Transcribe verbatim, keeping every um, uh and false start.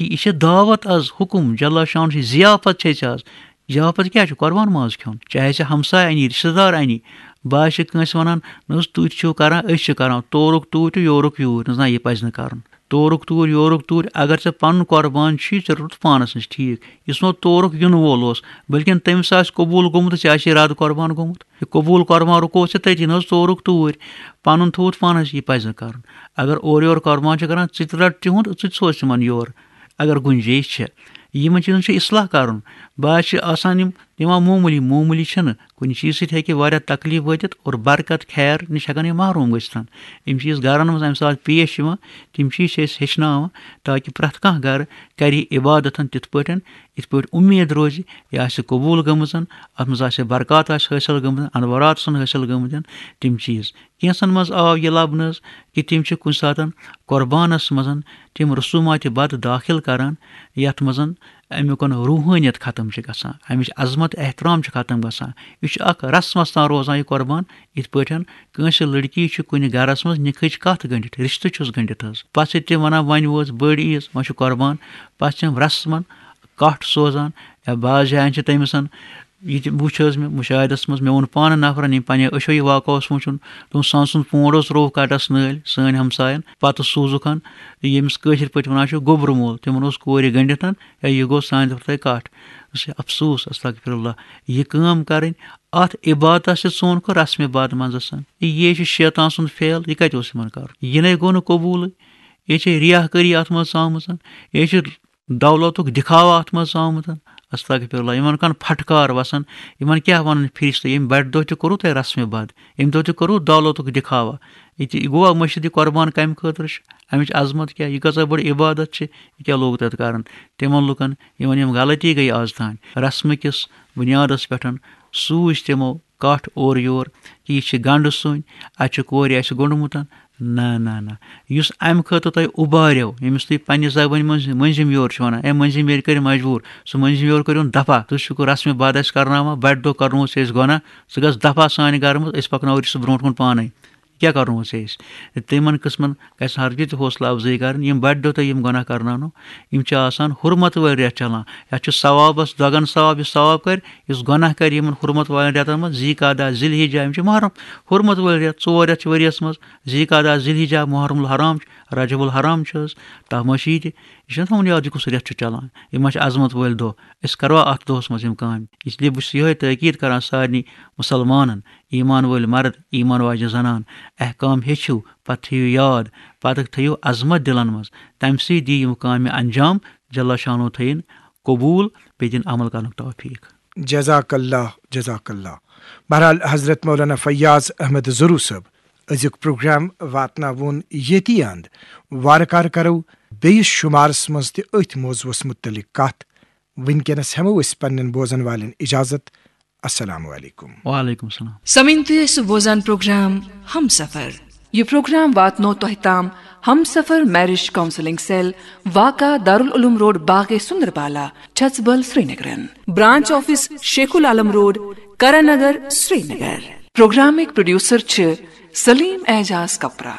کہِ یہِ چھِ دعوت از، حکم جل شان چھِ، ضیافت چھِ أسۍ از۔ ضیافت کیٛاہ چھُ؟ قربان ماز کھیوٚن۔ چاہے ژےٚ ہمساے اَنی، رشتہٕ دار اَنی، بہٕ آسہِ کٲنٛسہِ وَنان، نہ حظ، تُہۍ تہِ چھِو کران، أسۍ چھِ کران، تورُک توٗرۍ تہٕ یورُک یوٗرۍ، نہ حظ، نہ، یہِ پَزِ نہٕ کَرُن۔ تورُک توٗرۍ، یورُک توٗرۍ، اگر ژےٚ پَنُن قربان چھی، ژےٚ روٚٹُتھ پانَس نِش، ٹھیٖک۔ یُس نہٕ تورُک یُن وول اوس، بلکہِ تٔمِس آسہِ قبوٗل گوٚمُت، ژےٚ آسہِ اِرادٕ قربان گوٚمُت۔ یہِ قبوٗل قربان رُکووُتھ ژےٚ تٔتی، نہ حظ، تورُک توٗرۍ، پَنُن تھوٚوُتھ پانَس، یہِ پَزِ نہٕ کَرُن۔ اگر اورٕ یورٕ قربان چھِ کران، ژٕ تہِ رَٹ تِہُنٛد، ژٕ تہِ سوز تِمَن یورٕ، اگر گُنجٲیِش چھِ۔ یِمَن چیٖزَن چھُ اصلاح کَرُن۔ بعض چھِ آسان یِم دِوان معموٗلی، معموٗلی چھِنہٕ۔ کُنہِ چیٖز سۭتۍ ہیٚکہِ واریاہ تکلیٖف وٲتِتھ اور برکت خیر نِش ہٮ۪کَن یِم محروٗم گٔژھِتھ۔ یِم چیٖز گَرَن منٛز اَمہِ ساتہٕ پیش یِوان، تِم چیٖز چھِ أسۍ ہیٚچھناوان، تاکہِ پرٛٮ۪تھ کانٛہہ گَرٕ کَرِ یہِ عبادتَن تِتھ پٲٹھۍ، یِتھ پٲٹھۍ اُمید روزِ، یہِ آسہِ قبوٗل گٔمٕژَن، اَتھ منٛز آسہِ برکات آسہِ حٲصِل گٔمٕژ، اَنوارات آسَن حٲصِل گٔمٕتۍ، تِم چیٖز۔ کینٛژَن منٛز آو یہِ لَبنہٕ حظ کہِ تِم چھِ کُنہِ ساتَن قربانَس منٛز تِم رسوٗماتِ بد دٲخِل کَران، یَتھ منٛز اَمیُک روحٲنیت ختم چھِ گژھان، اَمِچ عظمت احترام چھِ ختم گژھان۔ یہِ چھُ اَکھ رسمَس تام روزان یہِ قربان، یِتھ پٲٹھۍ کٲنٛسہِ لٔڑکی چھُ کُنہِ گَرَس منٛز نِکہٕچ کَتھ گٔنٛڈِتھ، رِشتہٕ چھُس گٔنٛڈِتھ حظ۔ پَتہٕ چھِ تِم وَنان، وۄنۍ وٲژ بٔڑ عیٖد، وۄنۍ چھُ قربان۔ پَتہٕ چھِ یِم رسمَن کَٹھ سوزان، یا بعض جایَن چھِ تٔمِس یہِ تہِ وُچھ حظ مےٚ مُشاہدَس منٛز، مےٚ ووٚن پانہٕ نفرَن، ییٚمۍ پنٛنیو أچھو یہِ واقعہ اوس وٕچھُن، دوٚپُن، سُہ ہن سُنٛد پونٛڈ اوس روٚو کَٹَس نٲلۍ سٲنۍ ہمساین، پَتہٕ سوٗزُکھ ہن، ییٚمِس کٲشِر پٲٹھۍ وَنان چھِ گوٚبرٕ مول، تِمَن اوس کورِ گٔنٛڈِتھ ہن، یا یہِ گوٚو سانہِ طرفہٕ تۄہہِ کَٹھ۔ دوٚپُس، ہے افسوٗس، استغفر اللہ، یہِ کٲم کَرٕنۍ، اَتھ عبادتَس چھِ ژوٗن کوٚر رسمِ بد منٛزَس۔ یہِ چھُ شیطان سُنٛد فعل، یہِ کَتہِ اوس یِمَن کَرُن؟ یہِ نے گوٚو نہٕ قبوٗلٕے۔ یہِ چھِ ریاہ کٲری اَتھ منٛز ژامٕژ، یہِ چھِ دولتُک دِکھاوا اَتھ منٛز آمُت۔ استغفر اللہ، یِمن کَن پھٹکار وَسان، یِمن کیٛاہ وَنَن فرشتہٕ؟ ییٚمہِ بَٹہِ دۄہ تہِ کوٚروٕ تۄہہِ رسمِ بد، اَمہِ دۄہ تہِ کوٚروٕ دولتُک دِکھاوا۔ یہِ تہِ، یہِ گوٚوا مٔشِد، یہِ قربان کَمہِ خٲطرٕ چھِ؟ اَمِچ عظمت کیٛاہ؟ یہِ کۭژاہ بٔڑ عبادت چھِ، یہِ کیٛاہ لوٚگ تَتھ کَرُن؟ تِمن لُکن، یِمن یِم غلطی گٔے آز تام، رسمہٕ کِس بُنیادس پٮ۪ٹھ سوٗزۍ تِمو کَٹھ اورٕ یور، کہِ یہِ چھِ گنٛڈٕ سُنٛد، اَتہِ چھُ کورِ اَسہِ گوٚنڈمُت۔ نہ، نہ، نہ۔ یُس اَمہِ خٲطرٕ تۄہہِ اُباریو، ییٚمِس تُہۍ پنٛنہِ زبٲنۍ منٛز مٔنٛزِم یور چھِو وَنان، اے مٔنٛزِم یورٕ کٔرِو مجبوٗر، سُہ مٔنٛزِم یور کٔرِو دفع۔ تُہۍ چھِو رسمِ بد اَسہِ کرناوان، بَٹہِ دۄہ کرنووُتھ ژےٚ اَسہِ گۄناہ، ژٕ گژھ دفع سانہِ گرٕ منٛز، أسۍ پَکناوو یہِ سُہ برٛونٛٹھ کُن پانَے۔ کیٛاہ کرنووُتھ ژےٚ أسۍ؟ تِمن قٕسمن گژھِ نہٕ ہرگِز تہِ حوصلہٕ افزٲیی کرٕنۍ۔ یِم بَٹہِ دۄہ تۄہہِ یِم گۄناہ کرناونو، یِم چھِ آسان حُرمت وٲلۍ رٮ۪تھ چلان۔ یَتھ چھُ ثوابس دۄگن ثواب، یُس ثواب کرِ، یُس گۄناہ کرِ یِمن حُرمت والٮ۪ن رٮ۪تن منٛز، ذی قعدہ، ذی الحجہ، یِم چھِ محرم، حُرمت وٲلۍ رٮ۪تھ، ژور رٮ۪تھ چھِ ؤریَس منٛز، ذی قعدہ، ذی الحجہ، محرم الحرام چھُ، رجب الحرام چھُ حظ، تَتھ منٛز چھِ یہِ تہِ، یہِ چھُنہ تھاوُن یاد، یہِ کُس رٮ۪تھ چھُ چلان، یِم ما چھِ عظمت وٲلۍ دۄہ، أسۍ کروا اَتھ دۄہس منٛز یِم کامہِ؟ اس لیے بہٕ چھُس یِہوٚے تٲکیٖد کران سارنٕے مُسلمانن، ایمان وٲلۍ مرد، ایمان واجہِ زنان، احکام ہیٚچھِو، پتہٕ تھٲیِو یاد، پتہٕ تھٲیِو عظمت دِلن منٛز، تَمہِ سۭتۍ دِیِو یِم کامہِ انجام، جل شانو تھٲیِن قبوٗل، بیٚیہِ دِن عمل کرنُک توفیٖق۔ جزاک اللہ، جزاک اللہ۔ بہرحال، حضرت مولانا فیاض احمد زرو صٲب، أزیُک پروگرام واتناوون ییٚتی اند۔ وارٕ کارٕ کرو بیٚیِس شُمارس منٛز تہِ أتھۍ موضوعس مُتعلق کتھ۔ وٕنکیٚنس ہٮ۪مو أسۍ پننٮ۪ن بوزن والٮ۪ن اجازت۔ السلام علیکم۔ وعلیکم السلام۔ سمعین، تُہۍ ٲسِو بوزان پروگرام ہمسفر۔ یہِ پروگرام واتنو تۄہہِ تام ہمسفر میرج کاؤنسلنگ سیل، واقع دارالعلوم روڈ، باغ سندربالا، چھژبل، سرینگرن۔ برانچ آفس شیخ العالم روڈ، کرن نگر، سرینگر۔ پروگرامٕکۍ پروڈیوسر چھِ سلیم اعجاز کپرا۔